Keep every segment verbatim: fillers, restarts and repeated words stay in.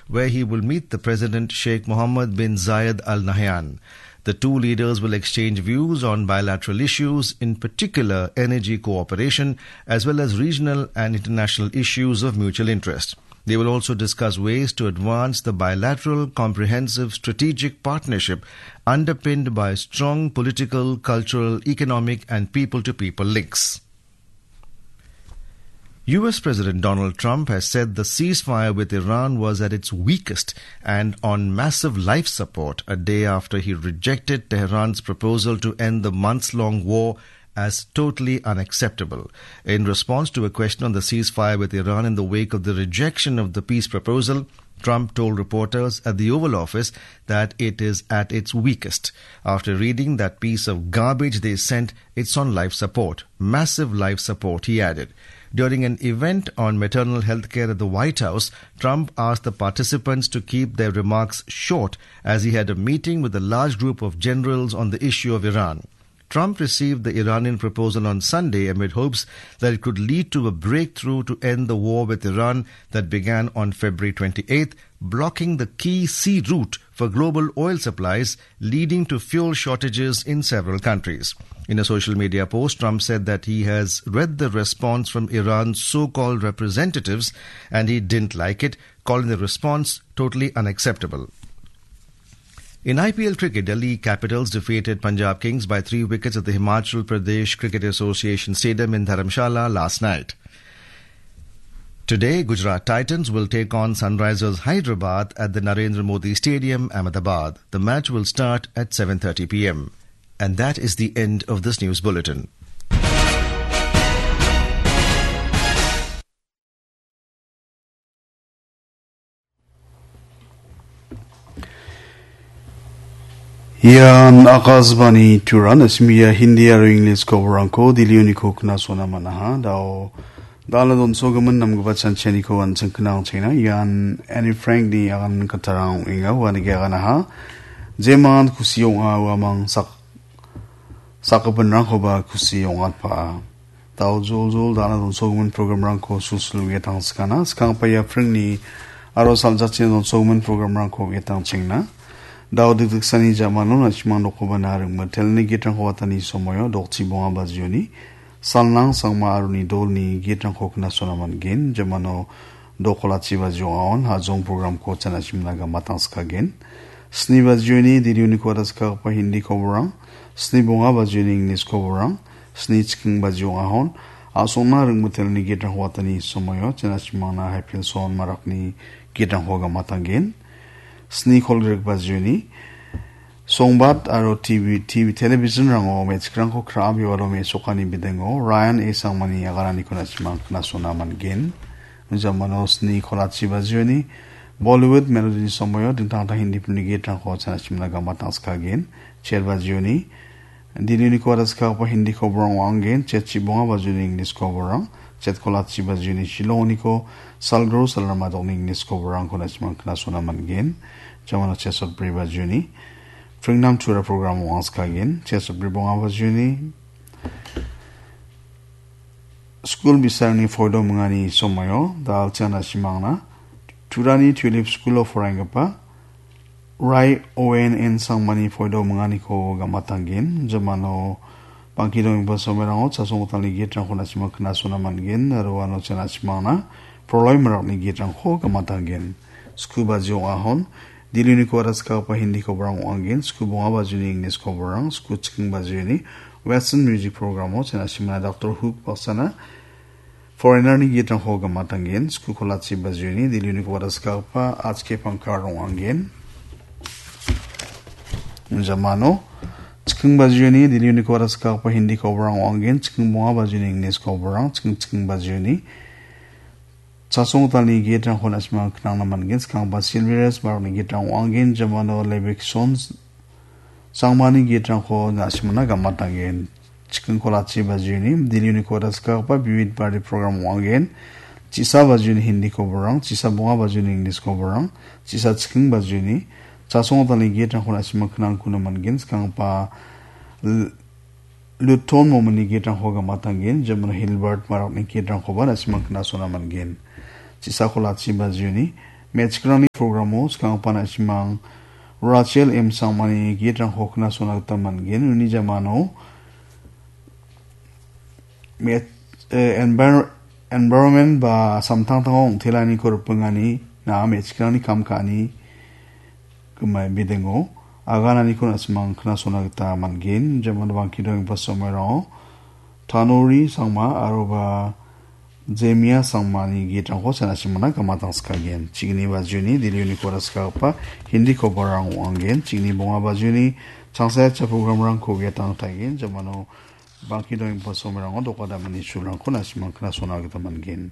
where he will meet the President Sheikh Mohammed bin Zayed Al Nahyan. The two leaders will exchange views on bilateral issues, in particular energy cooperation, as well as regional and international issues of mutual interest. They will also discuss ways to advance the bilateral comprehensive strategic partnership underpinned by strong political, cultural, economic, and people-to-people links. U S President Donald Trump has said the ceasefire with Iran was at its weakest and on massive life support, a day after he rejected Tehran's proposal to end the months-long war as totally unacceptable. In response to a question on the ceasefire with Iran in the wake of the rejection of the peace proposal, Trump told reporters at the Oval Office that it is at its weakest. After reading that piece of garbage they sent, it's on life support. Massive life support, he added. During an event on maternal health care at the White House, Trump asked the participants to keep their remarks short as he had a meeting with a large group of generals on the issue of Iran. Trump received the Iranian proposal on Sunday amid hopes that it could lead to a breakthrough to end the war with Iran that began on February twenty-eighth, blocking the key sea route for global oil supplies, leading to fuel shortages in several countries. In a social media post, Trump said that he has read the response from Iran's so-called representatives and he didn't like it, calling the response totally unacceptable. In I P L cricket, Delhi Capitals defeated Punjab Kings by three wickets at the Himachal Pradesh Cricket Association Stadium in Dharamshala last night. Today, Gujarat Titans will take on Sunrisers Hyderabad at the Narendra Modi Stadium, Ahmedabad. The match will start at seven thirty p m. And that is the end of this news bulletin. Ian Akashvani Turan, S M E-a Hindi aro English koborangko dilioniko knasona manaha. Dao dala donsogimin namgipa chanchianiko an·ching knang chena. Ian Annie Frank-ni agan katarang ong·enga, uanike aganaha. Jeman kusi ong·a, uamang sak-, sakgipinrangkoba kusi ong·atpaa. Dao joljol dana donsogimin programrangko sulsul uia tangsikana. Skanggipa ia pringni aro saljachina donsogimin programrangko uia tangchengna. Dao dikdiksani jamano na·simang dokoba na ringmitelni gitrangko watani somoio dokchi bonga bajioni. Salnang sangma aroni dolni gitrangko knasona man·gen. Jamano dokolachi bajio aon hajong programko chanasimna gama tangskagen. Sni bajioni dilioniko wadaskagipa Hindi koborang. Sni bonga bajioni English koborang. Sni chiking baji ong·ahon, a·songna ringmitelni gitrangko watani somoio, chena chimangna haipilson marakni gitrangko gamatanggen. Sni kolgrek bajioni, songbat aro T V, T V, television-rango me·chikrangko kra·a biwalo me·sokani bidengo, Ryan A Sangmani agaraniko na·simang knasona man·gen. Jamano sni kolachi bajioni, Bollywood melody-ni somoio, dingtang dingtang Hindi filmni gitrangko chena chimna gamatangskagen. Cher bajioni, Dilioniko wadaskagipa Hindi koborang ong·angen, chet chibonga bajioni English koborang, chet kolachi bajioni Shillongniko salgro salramadokni English koborangko na·simang knasona man·gen. Jamano chesotbri bajioni, Pringnam Tura program ong·angskagen, chesotbri bonga bajioni, skul bi·sarangni poido mingani somoio, da·alchian na·simangna, Turani Tulip School-o poraienggipa, Rai Owen N Sangmani poido minganiko gamatanggen. Jamano bangki dongenggipa somoirango chasonggitalni gitrangko na·sima knasona man·gen. Aro uano cha na·simangna Proloi Marakni gitrangko gamatanggen. Sku baji ong·ahon, Dilioniko wadaskagipa Hindi koborang ong·angen. Sku bonga bajioni English koborang. Sku chiking bajioni Western Music Program-o cha na·simangna Doctor Hook baksana Foreigner-ni gitrangko gamatanggen, sku kolachi bajioni, Dilioniko wadaskagipa H K Pangkar ong·angen. Jamano, chiking bajioni, Dilioniko wadaskagipa Hindi koborang ong·angen, chiking bonga bajioni, English koborang, chiking chiking bajioni. Chasonggitalni gitrangko na·simang knangna man·gen, skanggipa Silverius Marokni gitrang ong·angen, jamano Levikson Sangmani gitrangko na·simangna gamatanggen. Chiking kolachi bajioni, Dilioniko wadaskagipa Vivid Bharati program ong·angen. Chisa bajioni Hindi koborang, chisa bonga bajioni English koborang, chisa chiking bajioni, chasonggitalni gitrangko na·simang knangkuna man·gen, skanggipa L-, Luton Momoni gitrangko gamatanggen, jamano Hilbert Marokni gitrangkoba na·simang knasona man·gen. Chisa kolachi bajioni, Me·chikrangni programo skanggipa na·simang Rachel M Sangmani gitrangko knasona gita man·gen. Uni jamano me-, eh, envir-, environment ba samtangtango ong·telaniko ripengani na me·chikrangni kam ka·ani gimai bidingo agananiko na·simang knasona gita man·gen. Jamano bangki dongenggipa somoirango Tanori Sangma aroba Jemia Sangmani gitrangko chanachimana gamatanskagen. Chigni bajuni Delhi uniko raskagipa Hindi kobarang ong·angen. Chigni bonga bajuni changsacha programrangko uiatang taigen. Jamano bangki dongenggipa somoirango doka damani sulrangko na·simang knasona gita man·gen.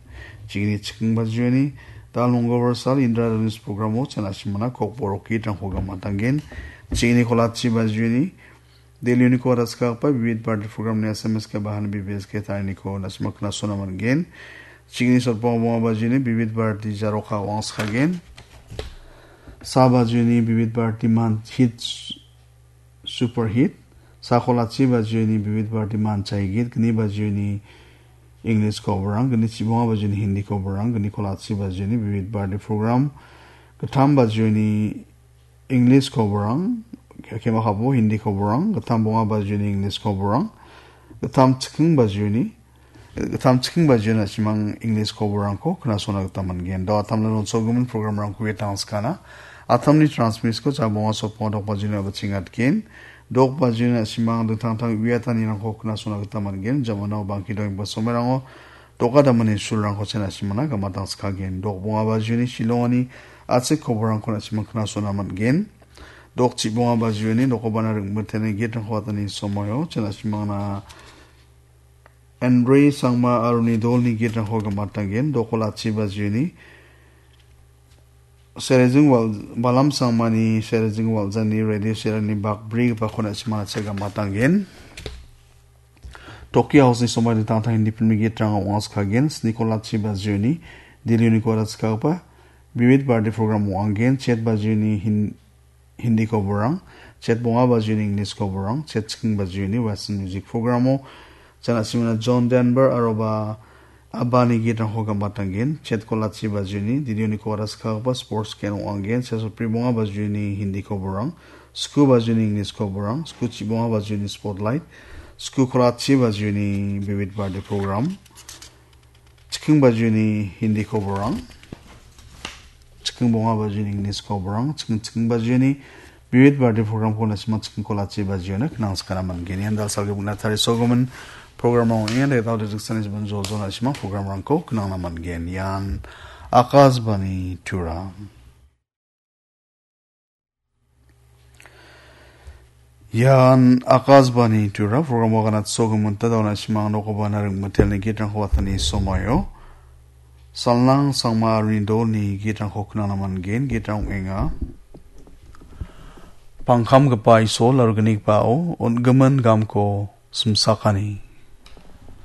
Chigni chiking bajuni Dal Mongolbar sal Indra Dhanus programo chanachimana kokborok gitrangko gamatanggen. Chigni kolachi bajuni Delhi uniko raskagipa Vivid Bharati programni S M S ke bahan B B S ke tainiko na·sima knasona man·gen. Chigni sotbonga bonga bajuni Vivid Bharati jaroka wangskagen. Sa bajuni Vivid Bharati man hit, super hit. Sa kolachi bajuni Vivid Bharati man chaigit. Gni bajuni English kobarang. Gni chibonga bajuni Hindi kobarang. Gni kolachi bajuni Vivid Bharati program. Gittam bajuni English kobarang, ke-, kema kabo Hindi kobarang, gittam bonga bajuni English kobarang, gittam chiking bajuni, gittam chiking bajuni na·simang English kobarangko knasona gita man·gen. Do atamna ronsogimin programrangko uiatangskana. Atamni transmissko ja bonga sotbonga dok bajuni abachengatgen. Dok bajuni na·simang dingtang dingtang uiatanirangko knasona gita man·gen. Jamano bangki dongenggipa somoirango doka damani sulrangko cha na·simana gamatangskagen. Dok bonga bajuni Shillongni achik kobarangko na·simang knasona man·gen. Dok chibonga bajuni dokobana ring·miteni gitrangko atani somoio cha na·simangna Andre Sangma aroni dolni gitrangko gamatanggen. Dok kolachi bajuni Serejing Wal-, Balam Sangmani Serejing Waljani radio serani bakbrigipako na·simana cha gamatanggen. Tokyo House-ni somoi dingtang dingtang Hindi film-ni gitrang ong·askagen. Sni kolachi bajuni Delhi uniko raskagipa Vivid Bharati program ong·angen. Chet bajuni Hin-, Hindi kobarang, chet bonga bajuni English kobarang, chet chiking bajuni Western music programo cha na·simana John Denver aroba ABBA-ni gitrangko gamatanggen. Chet kolachi bajuni Delhi uniko raskagipa sports ken ong·angen. Chet sotbri bonga bajuni Hindi kobarang, sku bajuni English kobarang, sku chibonga bajuni Spotlight, sku kolachi bajuni Vivid Bharati program, chiking bajuni Hindi kobarang, chiking bonga bajuni English kobarang, chiking, chiking bajuni Vivid Bharati programko na·sima chiking kolachi bajiona knangskana man·gen. Ian dalsalgipina tarisogimin programrang ong·enga. Degdao dejiksani jibin joljo na·sima programrangko knangna man·gen. Ian Akashvani Tura. Ian Akashvani Tura, programo ganatsogimin ta dauna simang nokoba na ringmitelni gitrangko watani somoio. Salnang Sangma aruni dolni gitrangko knangna man·gen, gitrang ong·enga. Pangkamgipa Isol aro gnigipao on·gimin gamko simsakani.